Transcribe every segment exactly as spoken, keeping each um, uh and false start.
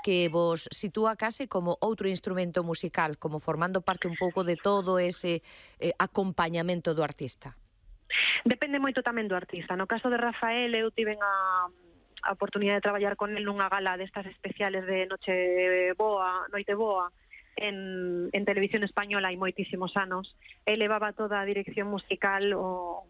que vos sitúa case como outro instrumento musical, como formando parte un pouco de todo ese eh, acompañamento do artista? Depende moito tamén do artista. No caso de Rafael, eu tiven a, a oportunidade de traballar con el nunha gala destas especiales de Noche Boa, Noite Boa, en, en Televisión Española hai moitísimos anos. El levaba toda a dirección musical o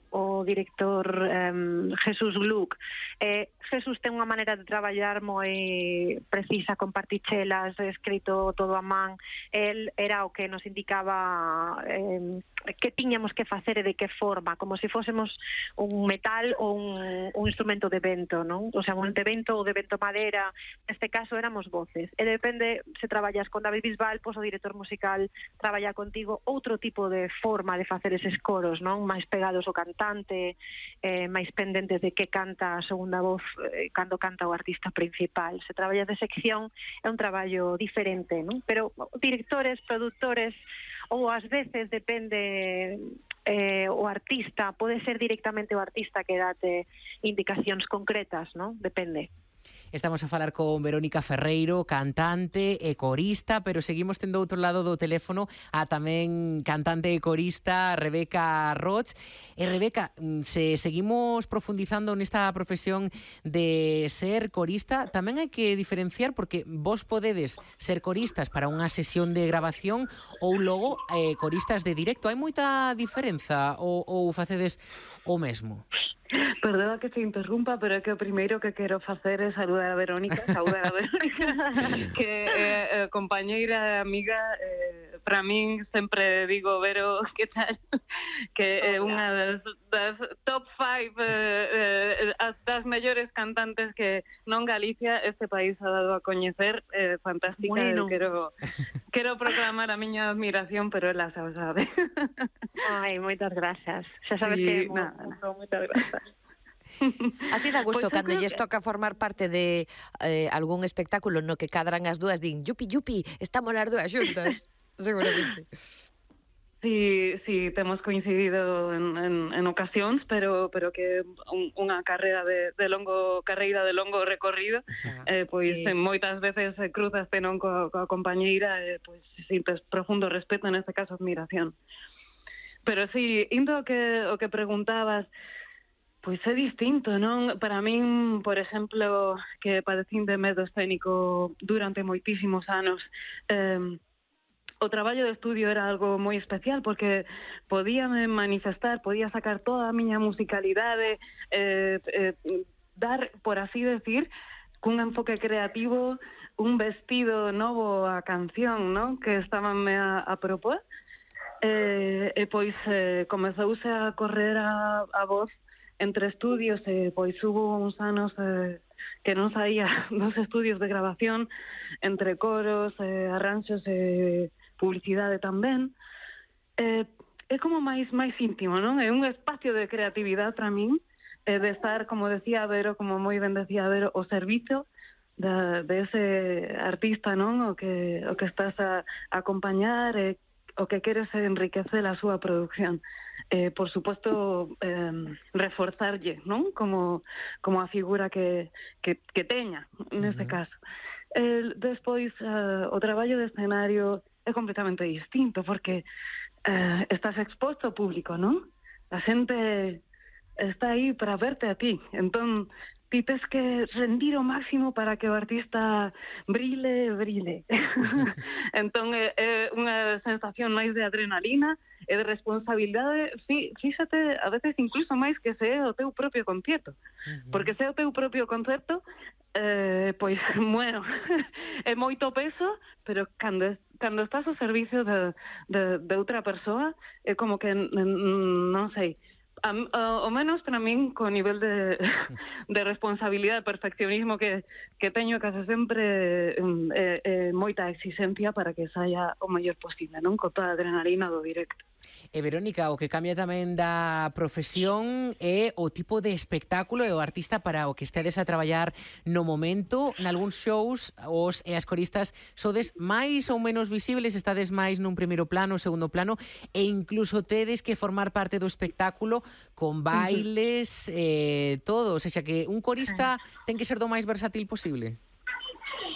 o director um, Jesús Gluck. Eh, Jesús ten unha maneira de traballar moi precisa, con partichelas, escrito todo a man. El era o que nos indicaba eh, que tiñamos que facer e de que forma, como se fósemos un metal ou un, un instrumento de vento, non? O sea, un de vento ou de vento madera. Neste caso éramos voces. E depende, se traballas con David Bisbal, pois o director musical traballa contigo outro tipo de forma de facer eses coros, non? Máis pegados ao cantante, eh, máis pendentes de que canta a segunda voz eh, cando canta o artista principal. Se traballa de sección é un traballo diferente, non? Pero directores, produtores, ou ás veces depende eh, o artista, pode ser directamente o artista que date indicacións concretas, non? Depende. Estamos a falar con Verónica Ferreiro, cantante e corista, pero seguimos tendo outro lado do teléfono a tamén cantante e corista Rebeca Roig. E Rebeca, se seguimos profundizando nesta profesión de ser corista, tamén hai que diferenciar, porque vos podedes ser coristas para unha sesión de grabación ou logo eh, coristas de directo. Hai moita diferenza ou, ou facedes o mesmo? Perdona que se interrumpa, pero é que o primeiro que quero facer é saludar a Verónica, saudar a Verónica, que é eh, compañeira e amiga. Eh, para min sempre digo, Vero, que tal? Que é unha das, das top five eh, eh, das mellores cantantes que non Galicia, este país ha dado a coñecer. Eh, fantástica, bueno. quero quero proclamar a miña admiración, pero ela xa o sabe. Ai, moitas grazas. Xa sabes sí, que nada, nada. Moitas grazas. Así dá gusto, pues cando lles que... toca formar parte de eh, algún espectáculo no que cadran as dúas, din, yupi, yupi, estamos as dúas xuntas, seguramente. Sí, sí, temos coincidido en, en, en ocasións, pero pero que un, unha carreira de, de longo carreira de longo recorrido, eh, pois sí. moitas veces cruzaste non coa, coa compañeira, eh, pois sintes profundo respeto, neste caso admiración. Pero sí, indo o que o que preguntabas, pois é distinto, non? Para min, por exemplo, que padecín de medo escénico durante moitísimos anos, eh, o traballo de estudio era algo moi especial, porque podíame manifestar, podía sacar toda a miña musicalidade, eh, eh, dar, por así decir, cun enfoque creativo, un vestido novo á canción, non? Que estabanme a, a propor. Eh, e pois eh, comezouse a correr a, a voz entre estudios, e pois hubo uns anos eh, que non saía dos estudios de grabación, entre coros, eh, arranxos e eh, publicidade tamén. Eh, é como máis máis íntimo, non? É un espacio de creatividade para min, eh, de estar, como decía Vero, como moi ben decía Vero, o servizo de, de ese artista, non? O que, o que estás a, a acompañar, e eh, o que queres é enriquecer a súa produción. Eh, por suposto, eh, reforzarlle, non? Como, como a figura que, que, que teña, neste uh-huh. caso. Eh, despois, uh, o traballo de escenario é completamente distinto, porque uh, estás exposto ao público, non? A xente está aí para verte a ti. Entón, ti tes que rendir o máximo para que o artista brile, brile. Entón, é, é unha sensación máis de adrenalina e de responsabilidade, fí, fíxate, a veces incluso máis que se é o teu propio concierto. Uh-huh. Porque se é o teu propio concerto, eh, pois, bueno, é moito peso, pero cando, cando estás ao servicio de, de, de outra persoa, é como que, non sei, A, a, o menos para min, co nivel de, de responsabilidade, de perfeccionismo que, que teño case sempre, eh, eh, moita exigencia para que saia o mellor posible, non? Con toda a adrenalina do directo. E Verónica, o que cambia tamén da profesión é o tipo de espectáculo e o artista para o que estedes a traballar no momento. Nalgúns shows, os e as coristas sodes máis ou menos visibles, estades máis nun primeiro plano, segundo plano, e incluso tedes que formar parte do espectáculo con bailes, uh-huh. eh, todo. O sea, que un corista ten que ser do máis versátil posible.